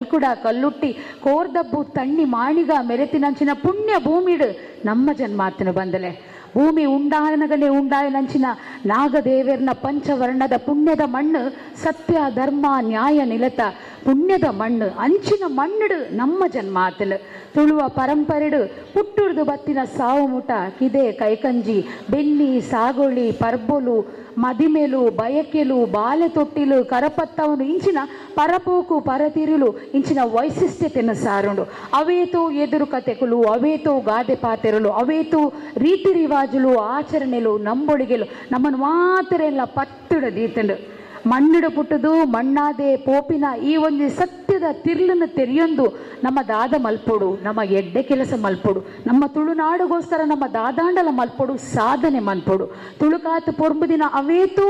ಕೂಡ ಕಲ್ಲುಟ್ಟಿ ಕೋರ್ದಬ್ಬು ತಣ್ಣಿ ಮಾಣಿಗ ಮೆರೆತಿನಂಚಿನ ಪುಣ್ಯ ಭೂಮಿಡು ನಮ್ಮ ಜನ್ಮಾತನು ಬಂದಲೆ. ಭೂಮಿ ಉಂಡಾನಗನೆ ಉಂಡಾಯನಂಚಿನ ನಾಗದೇವರ್ನ ಪಂಚವರ್ಣದ ಪುಣ್ಯದ ಮಣ್ಣು, ಸತ್ಯ ಧರ್ಮ ನ್ಯಾಯ ನಿಲತ ಪುಣ್ಯದ ಮಣ್ಣು, ಅಂಚಿನ ಮಣ್ಣುಡು ನಮ್ಮ ಜನ್ಮಾತಲು. ತುಳುವ ಪರಂಪರೆಡು ಪುಟ್ಟುರ್ದು ಬತ್ತಿನ ಸಾವು ಮುಟ ಕಿದೆ ಕೈಕಂಜಿ ಬೆನ್ನಿ ಸಾಗೋಳಿ ಪರ್ಬೊಲು ಮದಿಮೇಲು ಬಯಕೆಲು ಬಾಲೆ ತೊಟ್ಟಿಲು ಕರಪತ್ತವನು ಇಂಚಿನ ಪರಪೋಕು ಪರತಿರುಲು ಇಂಚಿನ ವೈಶಿಷ್ಟ್ಯತೆಯನ್ನು ಸಾರುಂಡು. ಅವೇತೋ ಎದುರು ಕತೆಕುಲು, ಅವೇತೋ ಗಾದೆ ಪಾತೆರಲು, ಅವೇತೋ ರೀತಿ ರಿವಾಜುಲು ಆಚರಣೆಲು ನಂಬೊಳಿಗೆಲು ನಮ್ಮನ್ನು ಮಾತ್ರ ಎಲ್ಲ ಪತ್ತಿಡ ದೀತಂಡು. ಮಣ್ಣಿಡು ಪುಟ್ಟದು ಮಣ್ಣಾದೆ ಪೋಪಿನ ಈ ಒಂದು ಸತ್ಯದ ತಿರ್ಲನ್ನು ತೆರೆಯೊಂದು ನಮ್ಮ ದಾದ ಮಲ್ಪೊಡು, ನಮ್ಮ ಎಡ್ಡೆ ಕೆಲಸ ಮಲ್ಪೊಡು, ನಮ್ಮ ತುಳುನಾಡುಗೋಸ್ಕರ ನಮ್ಮ ದಾದಾಂಡಲ ಮಲ್ಪೊಡು, ಸಾಧನೆ ಮಲ್ಪೊಡು. ತುಳುಕಾತು ಪೊರ್ಂಬುದಿನ ಅವೇತೂ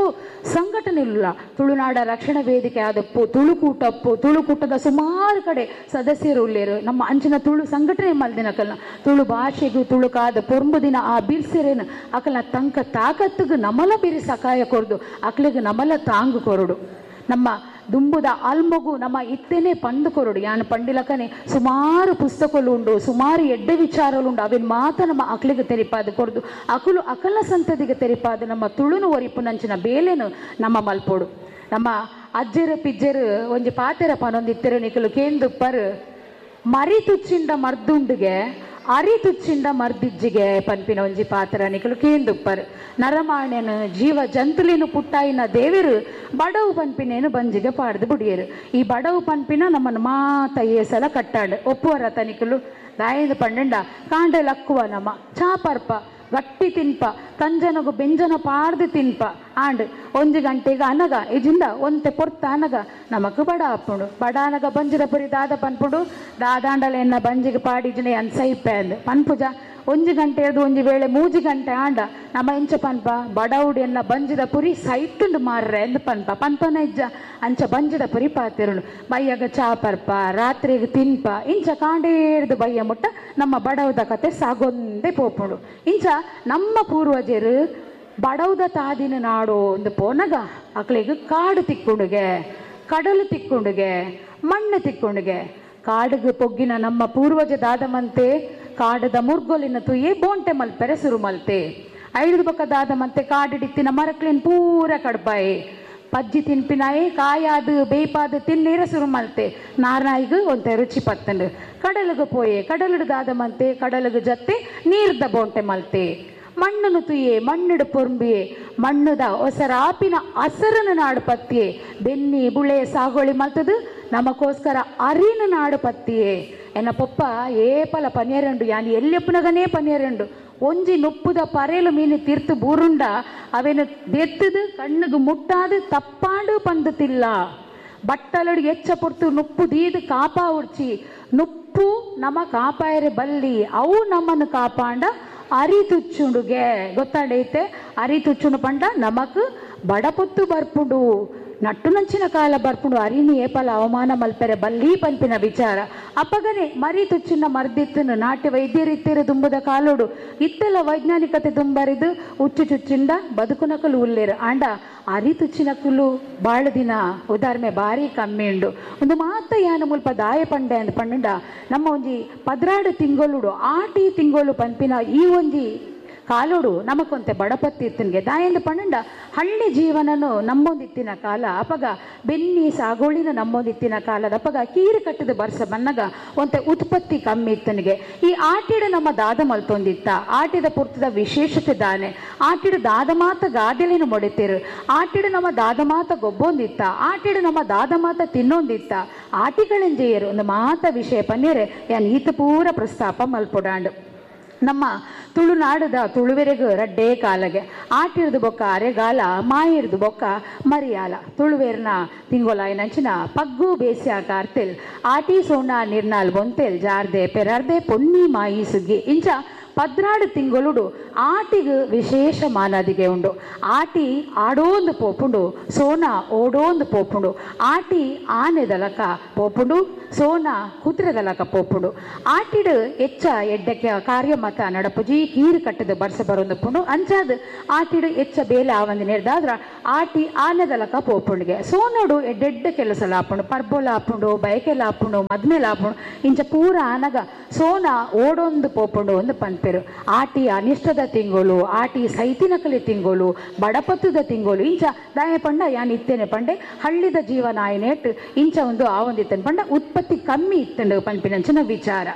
ಸಂಘಟನೆ ಇಲ್ಲ. ತುಳುನಾಡ ರಕ್ಷಣಾ ವೇದಿಕೆ ಆದಪ್ಪು, ತುಳುಕೂಟಪ್ಪು, ತುಳುಕೂಟದ ಸುಮಾರು ಕಡೆ ಸದಸ್ಯರು ಉಲ್ಲೇರು. ನಮ್ಮ ಅಂಚಿನ ತುಳು ಸಂಘಟನೆ ಮಲ್ದಿನಕಲ್ನ ತುಳು ಭಾಷೆಗೂ ತುಳುಕಾದ ಪೊರ್ಂಬುದಿನ ಆ ಬಿರ್ಸೆರೇನು ಅಕಲ್ನ ತಂಕ ತಾಕತ್ತಿಗೆ ನಮಲ ಬಿರಿ ಸಕಾಯ ಕೊರ್ದು ಅಕ್ಲಿಗೆ ನಮಲ ತಾಂಗು ಕೊರಡು. ನಮ್ಮ ದುಂಬುದ ಅಲ್ಮಗು ನಮ್ಮ ಇತ್ತೇನೆ ಪಂದು ಕೊರಡು. ಯಾನು ಪಂಡಿಲಕನೆ ಸುಮಾರು ಪುಸ್ತಕಗಳು ಉಂಡು, ಸುಮಾರು ಎಡ್ಡೆ ವಿಚಾರಗಳು ಉಂಡು. ಅವಿನ ಮಾತ ನಮ್ಮ ಅಕ್ಲಿಗೆ ತೆರಿಪಾದ ಕೊರದು ಅಕಲು ಅಕಲ ಸಂತತಿಗೆ ತೆರಿಪಾದ ನಮ್ಮ ತುಳುನು ಒರಿಪು ನಂಚಿನ ಬೇಲೆನು ನಮ್ಮ ಮಲ್ಪೋಡು. ನಮ್ಮ ಅಜ್ಜರು ಪಿಜ್ಜರು ಒಂಜಿ ಪಾತೆರ ಪನೊಂದಿತ್ತೆರು ನಿಕಲು ಕೇಂದು ಪರ್ ಮರಿ ತುಚ್ಚಿಂಡ ಮರ್ದುಂಡುಗೆ ಅರಿ ತುಚ್ಚಿಂಡ ಮರ್ದಿಜ್ಜಿಗೆ ಪನ್ಪಿನ ಒಂಜಿ ಪಾತ್ರ ನಿಕಲು ಕೇಂದುಪ್ಪರ್. ನರಮಾಣ್ಯನು ಜೀವ ಜಂತುಲಿನು ಪುಟ್ಟಾಯಿನ ದೇವರು ಬಡವು ಪನ್ಪಿನೇನು ಬಂಜಿಗೆ ಪಾಡ್ದು ಬುಡಿಯರು. ಈ ಬಡವು ಪನ್ಪಿನ ನಮ್ಮನ್ನು ಮಾತ ಏಸಲ ಕಟ್ಟಾಡು ಒಪ್ಪುವರ ತನಿಕಲು ದಾಯದು ಪಂಡಂಡ ಕಾಂಡೆ ಲಕ್ಕುವ ನಮ್ಮ ಚಾಪರ್ಪ ಗಟ್ಟಿ ತಿನ್ಪ ಕಂಜನಗು ಬೆಂಜನ ಪಾಡ್ದು ತಿನ್ಪ ಆಂಡ್ ಒಂಜಿ ಗಂಟೆಗೆ ಅನಗ ಇಜಿಂದ ಒಂತೆ ಪೊರ್ತ ಅನಗ ನಮಕ್ ಬಡ ಅಪ್ಪುಂಡು. ಬಡ ಅನಗ ಬಂಜಿದ ಪುರಿ ದಾದ ಪನ್ಪುಂಡು ದಾದಾಂಡಲ ಎನ್ನ ಬಂಜಿಗೆ ಪಾಡಿಜಿನ ಅನ್ ಸೈಪೆ ಅಂದ್ ಪನ್ಪುಜ. ಒಂಜಿ ಗಂಟೆ ಅದು ಒಂಜಿ ವೇಳೆ ಮೂಜಿ ಗಂಟೆ ಆಂಡ ನಮ್ಮ ಇಂಚ ಪನ್ಪ ಬಡವುಡು ಎನ್ನ ಬಂಜಿದ ಪುರಿ ಸೈತುಂಡು ಮಾರ್ರೆ ಅಂದ್ ಪನ್ಪ ಪನ್ಪನ ಇಜ್ಜ ಅಂಚ ಬಂಜಿದ ಪುರಿ ಪಾತಿರುಂಡು. ಬಯ್ಯಗ ಚಾಪರ್ಪ ರಾತ್ರಿಗೆ ತಿನ್ಪ ಇಂಚ ಕಾಂಡೇರ್ದು ಬಯ್ಯ ಮುಟ್ಟ ನಮ್ಮ ಬಡವುದ ಕತೆ ಸಾಗೊಂದೇ ಪೋಪುಂಡು. ಇಂಚ ನಮ್ಮ ಪೂರ್ವಜರು ಬಡವುದ ತಾದಿನ ನಾಡು ಒಂದು ಪೋನಗ ಅಕ್ಲಿಗೆ ಕಾಡು ತಿಕ್ಕುಂಡುಗೆ, ಕಡಲು ತಿಕ್ಕುಂಡುಗೆ, ಮಣ್ಣು ತಿಕ್ಕುಂಡುಗೆ. ಕಾಡಿಗೆ ಪೊಗ್ಗಿನ ನಮ್ಮ ಪೂರ್ವಜ ದಾದಮಂತೆ ಕಾಡದ ಮುರ್ಗೊಲಿನ ತುಯೇ ಬೋಂಟೆ ಮಲ್ಪೆರೆ ಸುರು ಮಲ್ತೆ. ಐದು ಬೊಕ್ಕ ದಾದಮಂತೆ ಕಾಡಿಡಿತ್ತಿನ ಮರಕ್ಲಿನ ಪೂರ ಕಡ್ಬಾಯಿ ಪಜ್ಜಿ ತಿನ್ಪಿನಾಯಿ ಕಾಯಾದು ಬೇಯ್ಪಾದು ತಿನ್ನೀರ ಸುರು ಮಲ್ತೆ. ನಾರ್ನಾಯಿಗು ಒಂತೆ ರುಚಿ ಪತ್ತಂಡು. ಕಡಲಿಗೆ ಪೋಯೆ ಕಡಲುಡು ದಾದಮಂತೆ ಕಡಲಿಗೆ ಜತ್ತೆ ನೀರ್ದ ಬೋಂಟೆ ಮಲ್ತೆ. ಮಣ್ಣನ್ನು ತುಯೆ ಮಣ್ಣುಡು ಪೊರ್ಂಬಿಯೆ ಮಣ್ಣುದ ಒಸರಾಪಿನ ಅಸರನ ನಾಡು ಪತ್ತಿಯೆ ಬೆನ್ನಿ ಬುಳೆ ಸಾಗೋಳಿ ಮಲ್ತದು ನಮಗೋಸ್ಕರ ಅರಿನ ನಾಡು ಪತ್ತಿಯೆ. ಎನ್ನ ಪೊಪ್ಪ ಏಪಲ ಪನಿಯರಂಡು ಯಾನ್ ಎಲ್ಲಿಪ್ಪನಗನೇ ಪನಿಯರಂಡು ಒಂಜಿ ನುಪ್ಪುದ ಪರೇಲು ಮೀನು ತೀರ್ತು ಬೂರುಂಡ ಅವೇನು ದೆತ್ತದು ಕಣ್ಣುಗು ಮುಟ್ಟಾದು ತಪ್ಪಾಂಡು ಪಂದುತಿಲ್ಲ. ಬಟ್ಟಲಡು ಎಚ್ಚ ಪೊರ್ತು ನುಪ್ಪು ದೀದು ಕಾಪಾ ಉಡ್ಚಿ ನುಪ್ಪು ನಮ ಕಾಪಾಯರೆ ಬಲ್ಲಿ ಅವು ನಮ್ಮನ್ನು ಕಾಪಾಂಡ ಅರಿ ತುಚ್ಚುಂಡುಗೆ ಗೊತ್ತಾಡೈತೆ. ಅರಿ ತುಚ್ಚುಂಡು ಪಂಡ ನಮಕ್ ಬಡಪೊತ್ತು ಬರ್ಪುಂಡು, ನಟ್ಟು ನಂಚಿನ ಕಾಲ ಬರ್ಪುಂಡು. ಅರಿನಿ ಏಪಲ ಅವಮಾನ ಮಲ್ಪೆರೆ ಬಲ್ಲಿ ಪನ್ಪಿನ ವಿಚಾರ. ಅಪ್ಪಗನೆ ಮರಿ ತುಚ್ಚಿನ ಮರ್ದಿತ್ತನು ನಾಟ್ಯ ವೈದ್ಯರಿತ್ತಿರ ದುಂಬುದ ಕಾಲೋಡು ಇತ್ತೆಲ್ಲ ವೈಜ್ಞಾನಿಕತೆ ದುಂಬರಿದು ಉಚ್ಚು ಚುಚ್ಚಿಂದ ಬದುಕುನಕಲು ಉಲ್ಲೇರು. ಆಂಡ ಅರಿ ತುಚ್ಚಿನಕುಲು ಬಾಳ ದಿನ ಉದಾಹರಣೆ ಭಾರಿ ಕಮ್ಮಿ ಉಂಡು. ಒಂದು ಮಾತ ಯಾನ ಮುಲ್ಪ ದಾಯ ಪಂಡೆ ಅಂದ್ ಪಂಡ ನಮ್ಮ ಒಂಜಿ 12 ತಿಂಗೊಲುಡು ಆಟಿ ತಿಂಗೊಲು ಪನ್ಪಿನ ಈ ಒಂಜಿ ಕಾಲೋಡು ನಮಕೊಂತೆ ಬಡಪತ್ತಿ ಇತ್ತನ್ಗೆ ದಾಯಂದು ಪಂಡ ಹಳ್ಳಿ ಜೀವನನು ನಂಬೊಂದಿತ್ತಿನ ಕಾಲ ಅಪಗ ಬೆನ್ನಿ ಸಾಗೋಳಿನ ನಂಬೊಂದಿತ್ತಿನ ಕಾಲದ ಅಪಗ ಕೀರು ಕಟ್ಟದ ಬರ್ಸ ಬನ್ನಗ ಒಂತೆ ಉತ್ಪತ್ತಿ ಕಮ್ಮಿ ಇತ್ತನಿಗೆ. ಈ ಆಟಿಡ ನಮ್ಮ ದಾದ ಮಲ್ತೊಂದಿತ್ತ ಆಟಿದ ಪುರ್ತದ ವಿಶೇಷತೆ ದಾನೆ ಆಟಿಡ ದಾದ ಮಾತ ಗಾದೆಲೇನು ಮೊಡಿತಿರು ಆಟಿಡ ನಮ್ಮ ದಾದ ಮಾತ ಗೊಬ್ಬೊಂದಿತ್ತ ಆಟಿಡ ನಮ್ಮ ದಾದ ಮಾತ ತಿನ್ನೊಂದಿತ್ತ ಆಟಿಗಳೆಂಜೆಯರು ಒಂದು ಮಾತ ವಿಷಯ ಪನ್ನೇರೆ ಯಾನ್ ಈತ ಪೂರ ಪ್ರಸ್ತಾಪ ಮಲ್ಪೊಡಾಂಡು. ನಮ್ಮ ತುಳುನಾಡದ ತುಳುವೆರೆಗು ರಡ್ಡೇ ಕಾಲಗೆ ಆಟಿರ್ದು ಬೊಕ್ಕ ಅರೆಗಾಲ, ಮಾಯಿರ್ದು ಬೊಕ್ಕ ಮರಿಯಾಲ. ತುಳುವೇರ್ನ ತಿಂಗೊಲಾಯಿನಂಚಿನ ಪಗ್ಗು ಬೇಸ್ಯ ಕಾರ್ತೆಲ್ ಆಟಿ ಸೋಣ ನಿರ್ನಾಲ್ ಬೊಂತೆಲ್ ಜಾರ್ದೆ ಪೆರಾರ್ದೆ ಪೊನ್ನಿ ಮಾಯಿ ಸುಗ್ಗಿ ಇಂಚ 12 ತಿಂಗೊಲುಡು ಆಟಿಗ್ ವಿಶೇಷ ಮಾನಾದಿಗೆ ಉಂಡು. ಆಟಿ ಆಡೋಂದು ಪೋಪುಂಡು, ಸೋನ ಓಡೋಂದು ಪೋಪುಂಡು. ಆಟಿ ಆನೆದಲಕ ಪೋಪುಂಡು, ಸೋನ ಕುದುರೆದಲಕ ಪೋಪುಂಡು. ಆಟಿಡ್ ಎಚ್ಚ ಎಡ್ಡಕ್ಕೆ ಕಾರ್ಯ ಮತ ನಡಪುಜಿ, ಕೀರು ಕಟ್ಟದ ಬರ್ಸ ಬರೊಂದುಪ್ಪುಂಡು. ಅಂಚಾದ್ ಆಟಿಡ್ ಎಚ್ಚ ಬೇಲೆ ಆವಂದಿ ನೇರ್ದಾದ್ರ ಆಟಿ ಆನೆದಲಕ ಪೋಪುಂಡಿಗೆ. ಸೋನೋಡು ಎಡ್ಡೆಡ್ಡ ಕೆಲಸ ಲಾಪುಂಡು, ಪರ್ಬೊಲ ಆಪುಂಡು, ಬಯಕೆಲ ಆಪುಂಡು, ಮದ್ಮೆಲ ಆಪುಂಡು. ಇಂಚ ಪೂರ ಆನಗ ಸೋನ ಓಡೊಂದು ಪೋಪುಂಡು ಒಂದು ಪನ್ಪೆರು. ಆಟಿ ಅನಿಷ್ಟದ ತಿಂಗಳು, ಆಟಿ ಸೈತಿನಕಲಿ ತಿಂಗಳು, ಬಡಪತ್ತದ ತಿಂಗಳು. ಇಂಚ ದಾಯ ಪಂಡ ಯಾನ್ ಇತ್ತೇನೆ ಪಂಡೆ ಹಳ್ಳಿದ ಜೀವನ ಆಯನೇಟ್ ಇಂಚ ಒಂದು ಆವೊಂದಿತ್ತೇನೆ ಪಂಡ ಉತ್ಪತ್ತಿ ಕಮ್ಮಿ ಇತ್ತಂಡು ಪನ್ಪಿನಂಚಿನ ವಿಚಾರ.